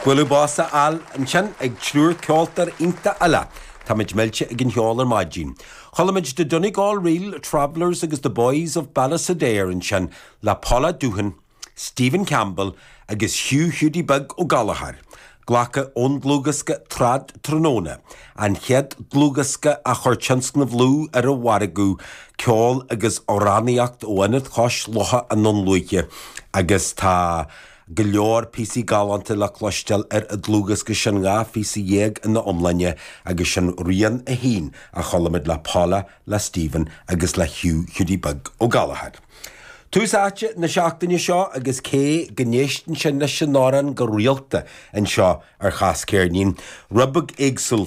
Bualadh bos a fháil ansin ag triúr ceoltóir iontach eile. Táimid millte ag an cheol ar maidin. Chuala muid The Donegal Reel Travellers agus The Boys of Ballysadare ansin le Paula Doohan, Stephen Campbell agus Hugh Hiúdaí Beag Ó Gallchóir. Glactha ón dlúthdhiosca Trad Tráthnóna, an chéad dlúthdhiosca a chuir Tionscnamh Lú ar an mhargadh, ceol agus amhránaíocht ó Ionad Chois Locha i nDún Lúiche agus tá go leor píosaí galánta le cloisteáil ar an dlúthdhiosca sin, 12 phíosa ina iomláine agus sin rian a haon a chuala muid le Paula, le Stephen agus le Hugh Hiúdaí Beag Ó Gallchóir. Tús áite na seachtaine seo agus cé go n-éisteann sinn leis an amhrán go rialta anseo ar Chas Ceirnín, rud beag éagsúil.